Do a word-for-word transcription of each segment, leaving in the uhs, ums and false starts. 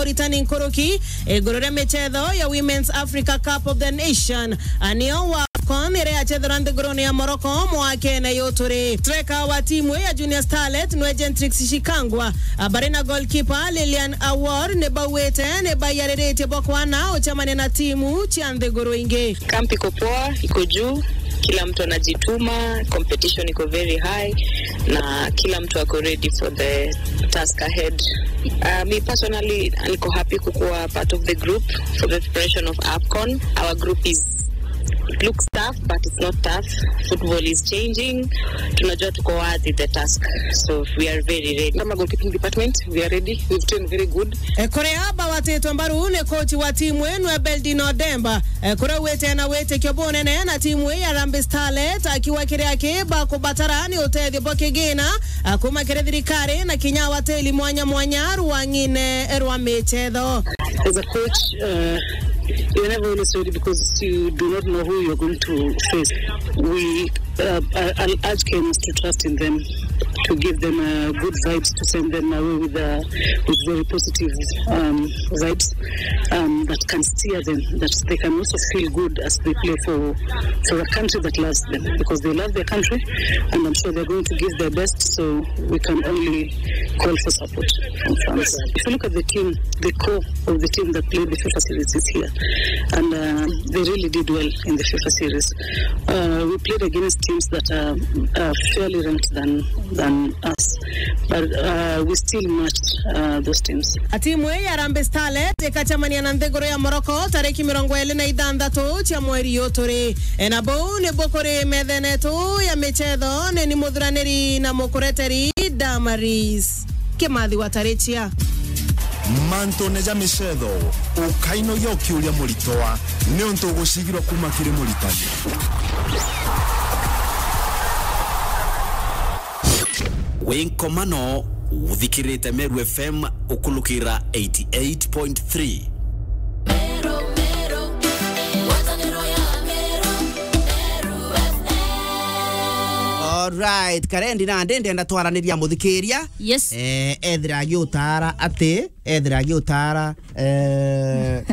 Returning nkuruki iguru ria michetho ya Women's Africa Cup of the Nation, anio wa AFCON iria yachethirwa nthigurune ya Morocco mwakene yuturi. Striker wa timu ya Junior Starlet nwe Gentrix Shikangwa, a, bari na goalkeeper Lilian Awor ni bauite ni baiyariritie bwa kwana uchemania na timu cia nthiguru ingi. Camp iko poa, iko juu, kila mtu anajituma, competition iko very high, na kila mtu ako ready for the task ahead. Uh, me personally, niko happy kukuwa part of the group for the preparation of AFCON. Our group is, it looks tough, but it's not tough. Football is changing. Tunajua tuko worthy the task. So we are very ready. Kama goalkeeping department, we are ready. We've trained very good. E, kuria bawatitwe mbaru ni coach wa timu inu, Ebeldino Demba, e, kuria wite na witikio bunene na timu ii ya Harambee Starlet, akiuga kiria ki bakubatara ni utethio bwa kigina, a, kuma kiri thirikari na kinya wateli mwanya mwanya rwang'ine rwa michetho. As a coach, uh, you're never always ready because you do not know who you're going to face. We, uh, I, I'll urge Kenyans to trust in them, to give them, uh, good vibes, to send them away with, uh, with very positive, um, vibes, um, that can steer them, that they can also feel good as they play for, for a country that loves them, because they love their country, and I'm sure they're going to give their best, so we can only call for support from fans. If you look at the team, the core of the team that played the FIFA series is here, and, uh, they really did well in the FIFA series. Uh, we played against teams that are, are fairly ranked than, than us, but, uh, we still matched, uh, those teams. A timu ii ya Harambee Starlet ikacemania na nthiguru ya Morocco tariki mirongo iri na ithanthatu cia mweri uyu turi. E, na buu ni bukuri methene yetu ya michetho, ni ni muthuraniri na mukureteri Damaris Kimathi wa Tarichia. Mantune ja michetho, ukainogia ukiuria muritwa, niuntu ugucigirwa kuma kiri muritani. Wi nkomano, uthikirite Meru F M ukulukira eighty eight point three. Alright, Karendi nandi ndenda twaraniria muthikiria. Yes. Eh, ethira agiutara ati, ethira agiutara, eh,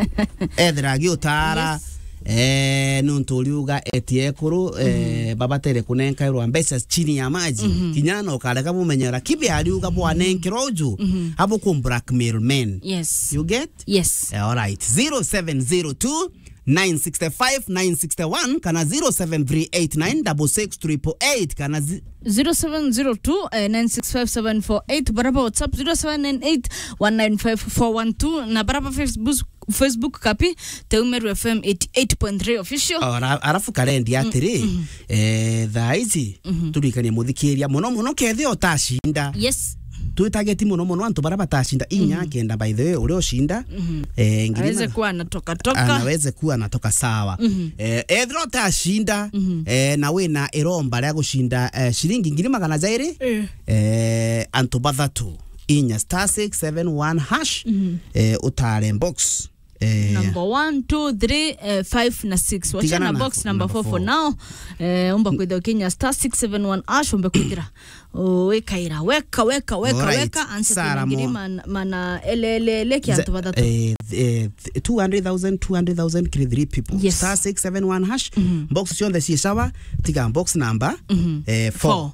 ethira agiutara, yes, eh, nuntu uriuga eti ekuru, eh, babatere kunenkairwa mbeca chini ya maji. Mhm. Kinya no karega bumenyera kibe ariuga bwanenkerwa uju, mhm, abo ku blackmail men. Yes. You get? Yes. Eh, alright. Zero seven zero two, nine six five, nine six one kana zero seven three eight nine double six triple eight kana zi- zero seven zero two, eh, nine six five seven four eight, baraba WhatsApp zero seven nine eight one nine five four one two, na baraba Facebook, Facebook kapi, Teu Meru F M eighty eight point three official. Ora-, arafu Karendi atiri, mm, mm, eh, thaa ici, mhm, turikanie muthikiria muno muno kethia utacinda. Yes. Twitage ti muno muno antu baria batacinda inya, mhm, kenda, by the way, uria ucinda, mhm, eh, ngiri aweze ma-, kuwa anatoka toka. Anaweze kuwa anatoka sawa. Mhm. Eh, ethira utacinda, mhm, eh, na wina iromba ria gucinda, eh, ciringi ngiri magana jairi, eh, eh, antu bathatu, inya star six seven one hash, mhm, eh, utare box. Eh, number one, two, three, eh, five na six. Wachana na box number four for now. Eh, umba kwithira ukinya star six seven one hash, umbe kwithira wikaira weka, weka, weka, alright, weka, answer Sarah ngiri Moa. Man-, mana elelele kia antu bathatu. Eh, eh, two hundred thousand, two hundred thousand kiri three people. Yes. Star six seven one hash. Mhm. Box cionthe ci sawa, tiga box number, mhm, eh, four. Four.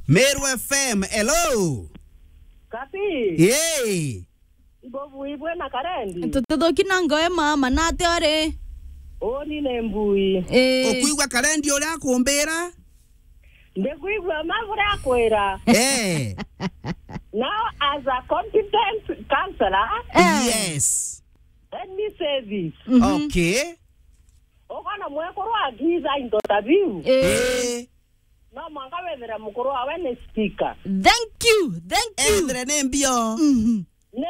Meru F M, hello. Kapi. Yay. Mbuvi ibwe na Karendi. Tututhuki na ngoe mama, na ati ori? Uni ni mbui. Eh. Ukwigua Karendi uria akumbira? Ndikwigua ma buria akwira. Eh. Now, as a competent counselor, eh, yes, let me say this. Mhm. Okay. Ukona mwekuru akiza into ta biu. Eh. Eh. No mwanka wethire mukuru wawe ni speaker. Thank you, thank you. Ethire ni mbio. Mhm. Ni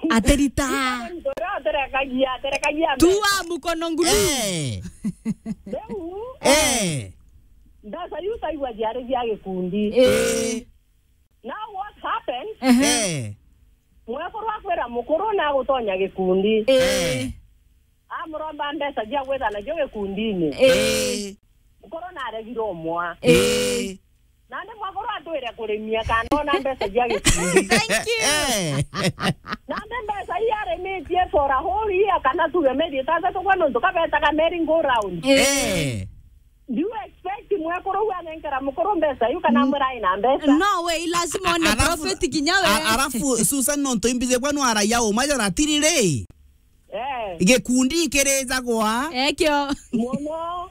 aterita. Ndio aterekagia, aterekagia mbeca. Tua mukono ngulu. Eh. Riu, eh, mbeca iu taigua ciari cia gikundi. Eh. Eh. Now what happened? Ehe. Eh. Mwekuru akwira mukuru na gutonya gikundi. Eh. Eh. Amuromba mbeca cia gwitha nacio gikundini. Eh. Mukuru naregire umwa. Eh. Nandi mwekuru atwire kurimia kana ona mbeca cia gikundi. Thank you. Eh. Nandi mbeca ii arimi for a whole year, kana tuge meri itantatu kwa nontu kabetaga merry go round. Eh. Eh. Do you expect mwekuru uyu anenkera mukuru mbeca iu kana amwira aina mbeca? No way, lazima one. Alafu, profit kinya we. A-, alafu Susan, nontu imbije kwenu araia uma jara tiriri. Eh. Gikundi kirijagwa. Ekio. Muno.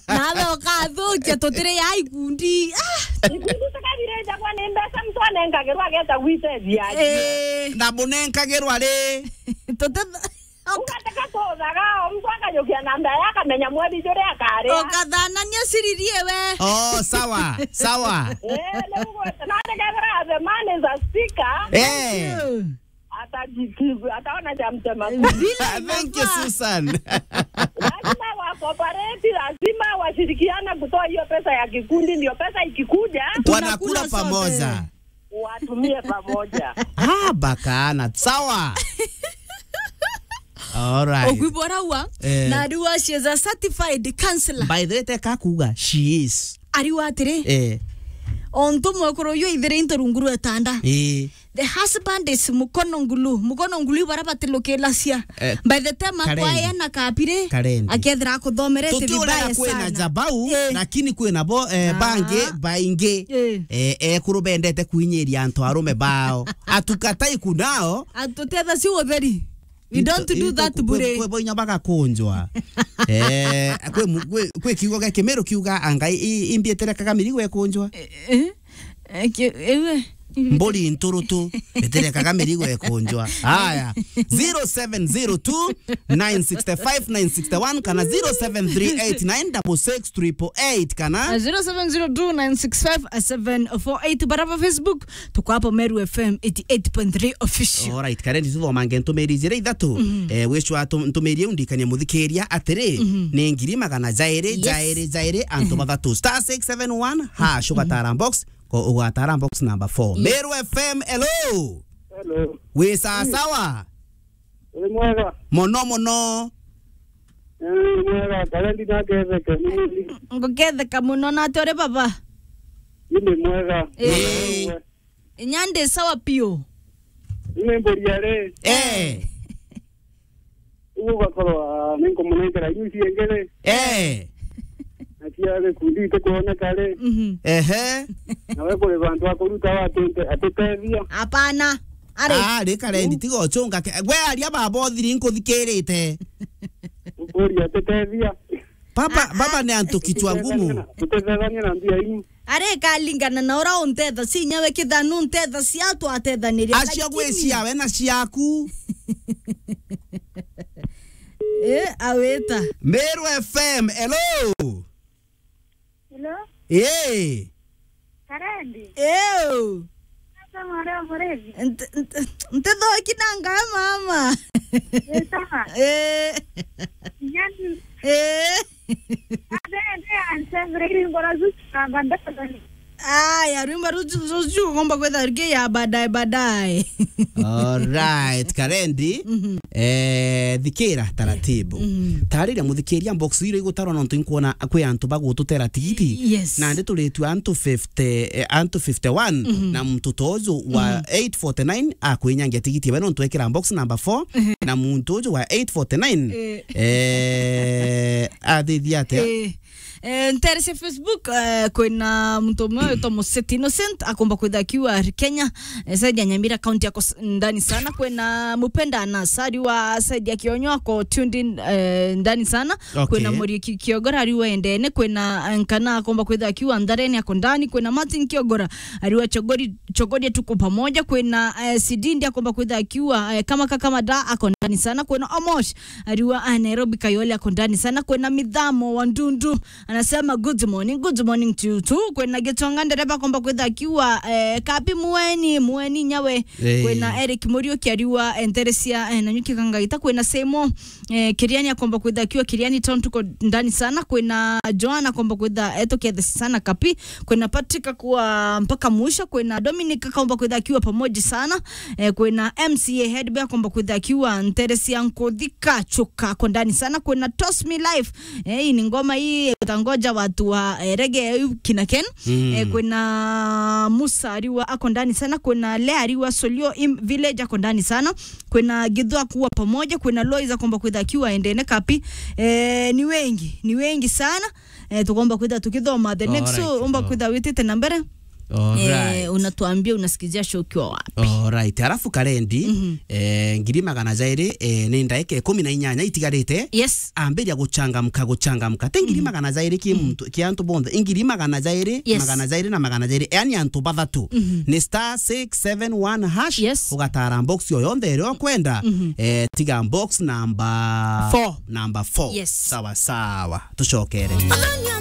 Nawe ukathukia tutiri ya ikundi. Ah. Ikundi tukathirejagwa ni mbeca, mtu anenkagirwa ageta gwitethia. Eh. Na munenkagirwa ri? Tuti- Ugateka kuthaga, o mtu akajukia namba yake, akamenya mweri juria akaria. Ukathanania siriri ewe. Oh, sawa, sawa. Eh, ni ugwete. Na atekethira the man is a speaker. Eh. Atajikigu, ataona cha mtema kuni. Vile inafaa. Thank you, Susan. Lazima wa cooperate, lazima washirikiane kutoa hiyo pesa ya kikundi, ndio pesa ikikuja. Wanakula sote. Wanakula pamoja. Watumie pamoja. Ah, bakana. Sawa. All right. Ogwibora wa, eh, na ariwa she is a certified counselor. By the way, teka kuga, she is. Ariwa atiri. Eh. Ontu mwekuru uyu ithire into rungu rwa tanda. Eh. The husband is mukono ngulu. Mukono ngulu ibara batilukilacia. Eh, by the time Karen. Akwaya na kapire, Karen. Akethira akuthomerete vibaya sana. Tutiurega kwina jabau, eh, lakini kwina bo, eh, ah, bangi, baingi. Eh. Eh, ekuru bendete kuinyiria antu arume bao. Atukatai kunao. Atutetha si utheri. We don't do that bure. Kwe, kwe boinya bagakunjwa. Eh, kwe mu-, kwe, kwe kiugo gia Kimiru kiuga anga i-, i-, imbieterekaga mirigo ekunjwa. Eh, eh. Eh, ki-, ewe. Mburi nturutu, iterekaga mirigo ekunjwa. Haya, zero seven zero two, nine six five, nine six one kana zero seven three eight nine double six triple eight kana, ah, zero seven zero two, nine six five, seven four eight. Baraba Facebook, tuko hapo Meru F M eighty eight point three official. All right, Karen, tuthomange ntumiri jira ithatu. Mhm. Eh, wicwa tu-, ntumiri iu ndikania muthikiria atiri, mhm, ni ngiri magana jairi, yes, jairi, jairi, antu bathatu. Star six seven one hash, mhm, ugatara box, ko ugatara box number four. Yes. Meru F M, hello. Hello. Wi sawa sawa? Wi mwega? Mono mono. Eh, mwega, Karen na ketheke, ni mwega. Nguketheka mono, na ati uri baba? Ni mwega. Eh. Eh. Inya ndi sawa piu. Ni mburia ri? Eh. Uguo ugakorwa, ah, ni nkumunenkera inyuci ingiri. Eh. Na cia gikundi itikwoneka ri? Mhm. Ehe. Nawe kuri bantu a kuruta wa atite-, atitethia. Hapana. Ari. Ah, ri Karen, tiga uchunga ke-, gwe aria baba uthiri nkuthikirite. Ukuria atitethia. Baba, ah, baba ni antu kichwa ngumu. Tutethania na mbia iu. Ari kalingana na ura untetha, si nyawe kithanu untetha cia twatethaniri. Acio lakini gwi ciawe na ciaku. Eh, aweta. Meru F M, hello. Hello? Eh. Karendi? Ew. Sasa mwana wa mrevi. Nte-, nte-, ntethoki na nga mama. Eh, sawa. Eh. Yani. Eh. Ade, ade, anse, vredi, ngora zuchu, na bandaka. Aya, rwimbo ruju, ruju, ugomba kwetha rugi ya baadaye, baadaye. Alright, Karendi. Mhm. Eh, thikira taratibu. Mhm. Tariria muthikiria, box iro igutarwa nontu inkwona kwi antu bagututera tigiti. Yes. Nandi turitua antu fifty, eh, antu fifty-one, mhm, na muntu toju wa, mhm, eight forty-nine akwinyangia tigiti we nontu ekira box number four, mhm, na muntu uju wa eight forty-nine, eh, eh, athithia atia? Eh. Eh, ntere cia Facebook, eh, kwina muntu umwe witwa Museti Innocent, akomba kwitha akiwa ari Kenya, eh, side ya Nyamira County ako s-, ndani sana. Kwina Mupenda Anas, ari wa side ya Kionyo, ako tuned in, eh, ndani sana. Okay. Kwina Muriiki Kiogora, ari wa Endene. Kwina, eh, Nkana, akomba kwitha akiwa Nthareni, ako ndani. Kwina Martin Kiogora, ari wa Chogori, Chogoria, tuko pamoja. Kwina, eh, Sidindi, akomba kwitha akiwa, eh, kama kakama da, ako ndani sana. Kwina Omosh, ari wa, ah, Nairobi Kayole, ako ndani sana. Kwina Mithamo wa Ndundu, anasema, "Good morning, good morning to you too." Kwina Gitonga ndereba akomba kwitha akiwa, eh, Kabi Mueni, Mueni nyawe. Eh. Kwina Eric Muriuki ari wa, eh, ntere cia, eh, Nanyuki Kangaita. Kwina Semo, eh, Kiriani akomba kwitha akiwa Kiriani Town, tuko ndani sana. Kwina Joana akomba kwitha, eh, tukietha sana Kapi. Kwina Patrick akuwa mpaka mwisho. Kwina Dominic akomba kwitha akiwa pamoja sana. Eh, kwina M C A Head Boy akomba kwitha akiwa ntere cia Nkuthi Kachuka, ako ndani sana. Kwina Toss Me Life. Eh, hii ni ngoma hii, Ngoja watu wa, eh, Rege kina Ken. Mm. Eh, kwina Musa Ariwa ako ndani sana, kwina Lea Ariwa Solio im-, Village ako ndani sana, kwina Githu akuwa pamoja, kwina Lois akomba kwitha akiwa endene kapi. Eh, ni wengi, ni wengi sana. Eh, tukomba kwitha tukithoma the next. Alright. So, omba kwitha witite na mbere. Alright. Eh, unatuambia unasikizia show ukiwa wapi? Alright. Alafu Karendi, mhm, eh, ngiri magana jairi, eh, ni ndaika ikumi na inyanya itigarite. Yes. Ambiria guchangamka, guchangamka. Ti ngiri magana jairi ki muntu, ki antu bonthe. Ngiri magana jairi, yes, magana jairi na magana jairi. Yani antu bathatu. Mhm. Ni star six seven one hash. Yes. Ugatara box yo yonthe iria ukwenda. Mhm. Eh, tiga box number four. Number four. Yes. Sawa, sawa. Tucokere.